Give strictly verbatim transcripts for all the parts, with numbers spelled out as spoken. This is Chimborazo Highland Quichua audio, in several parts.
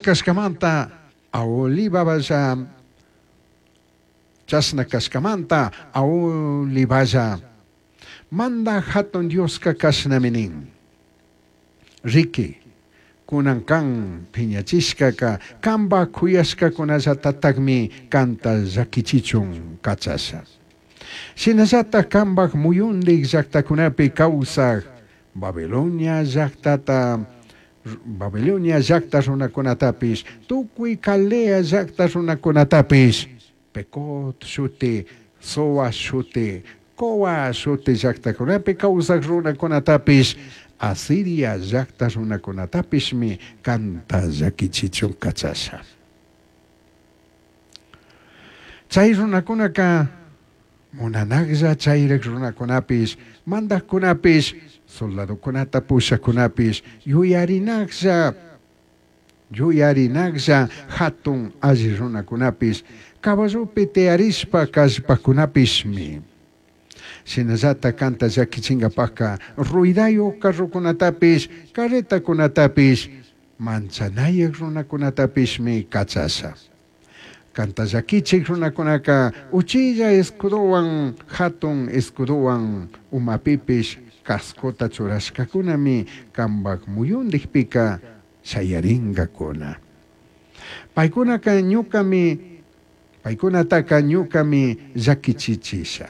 Kashkamanta Aholiballa, chashna kashkamanta Aholiballa, Mandaj Jatun Dioska kashnami nin. Riki, kunan kan piñachishkaka kanpak kuyashkakunallatatakmi kanta llakichichun kachasha. Shinallatak kanpak muyundik llaktakunapi kawsak Babilonia llaktata Babilonia llakta runakunatapish, tukuy Caldea llakta runakunatapish, Pecod shuti, Soa shuti, Coa shuti llaktakunapi kawsak runakunatapish, Asiria llakta runakunatapishmi kanta llakichichun kachasha. Chay runakunaka munanaklla chayrik runakunapish, mandakkunapish, soldadokunata pushakunapish, yuyarinaklla, yuyarinaklla hatun alli runakunapish, caballopi tiyarishpa kallpakunapishmi. Shinallata kanta llakichinkapaka ruidayo carrokunatapish, carretakunatapish, manchanayak runakunatapishmi kachasha. Kanta llakichik runakunaka uchilla escudowan, hatun escudowan umapipish cascota churashkakunami kanpak muyundikpika shayarinkakuna. Paykunaka ñukami, paykunataka ñukami llakichichisha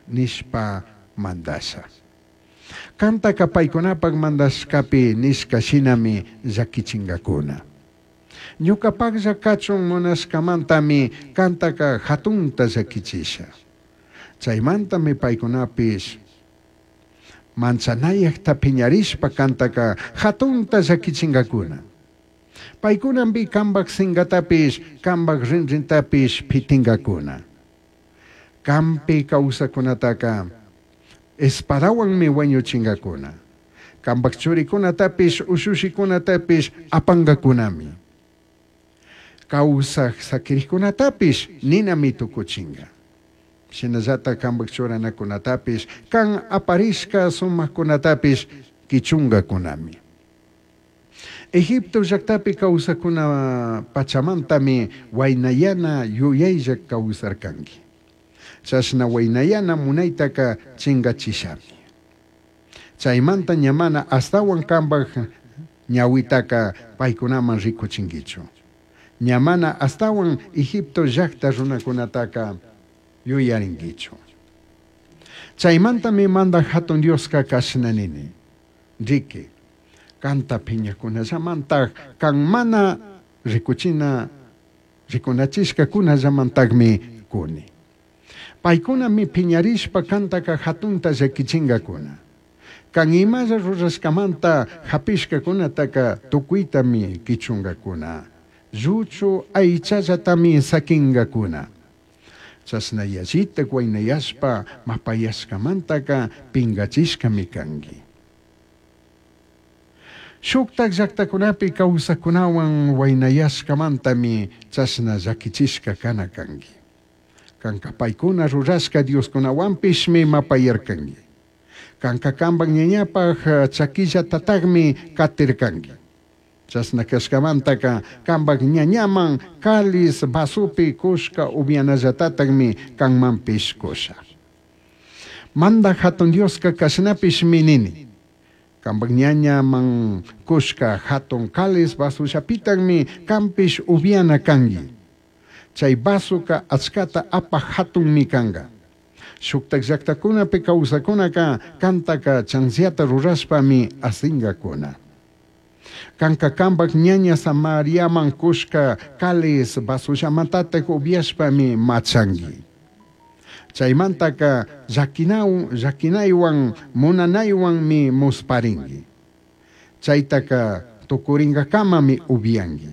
nishpa mandasha. Kantaka paykunapak mandashkapi nishka shinami llakichinkakuna. Ñukapaklla kachun munashkamantami kantaka hatunta llakichisha. Chaymantami paykunapish manchanayakta piñarishpa kantaka hatunta llakichinkakuna. Paykunampi kanpak sinkatapish, kanpak rinrintapish pitinkakuna. Kampi kawsakunataka espadawanmi wañuchinkakuna. Kanpak churikunatapish, ushushikunatapish apankakunami. Kawsak sakirikkunatapish ninami tukuchinka. Shinallata kanpak churanakunatapish, kan aparishka sumakkunatapish kichunkakunami. Egipto llaktapi kawsakuna pachamantami waynayana yuyaylla kawsarkanki. Chashna waynayana munaytaka chinkachishami. Chaymanta ñamana astawan kanpak ñawitaka paykunaman rikuchinkichu. Ñamana astawan Egipto llakta runakunataka yuyarinkichu. Chaymantami mandaj Hatun Dioska kashna nini. Riki, kanta piñakunallamantaj kan mana rikuchina rikunachishkakunallamantakmi kuni. Paykunami piñarishpa kantaka hatunta llakichinkakuna. Kan imalla rurashkamanta hapishkakunataka tukuytami kichunkakuna. Lluchu aychallatami sakinkakuna. Chashna yallita waynayashpa mapayashkamantaka pinkachishkami kanki. Shuktak llaktakunapi kawsakunawan waynayashkamantami chashna llakichishka kana kanki. Kanka paykuna rurashka dioskunawanpishmi mapayarkanki. Kanka kanpak ñañapak chakillatatakmi katirkanki. Chashna kashkamantaka kanpak ñañaman cáliz vasopi kushka upianallatatakmi kanmanpish kusha. Mandaj Hatun Dioska kashnapishmi nini. Kanpak ñañaman kushka hatun cáliz vasollapitakmi kanpish upiana kanki. Chay vasoka achkata apaj hatunmi kanka. Shuktak llaktakunapi kawsakunaka kantaka chanziata rurashpami asinkakuna. Kanka kanpak ñaña Samariaman kushka cáliz vasollamantatak upiashpami machanki. Chaymantaka llakinaw llakinaywan munanaywanmi musparinki. Chaytaka tukurinkakamami upianki.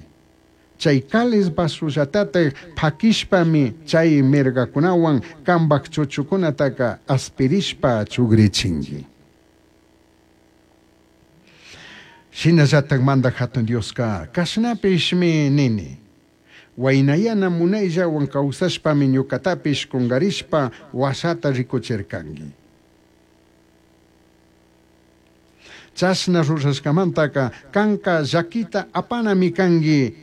Chay cáliz vasollatatak pakishpami chay mirgakunawan kanpak chuchukunataka aspirishpa chugrichinki. Shinallatak mandaj Hatun Dioska kashnapishmi nini. Waynayana munayllawan kawsashpami ñukatapish kunkarishpa washata rikuchirkanki. Chashna rurashkamantaka kanka llakita apanami kanki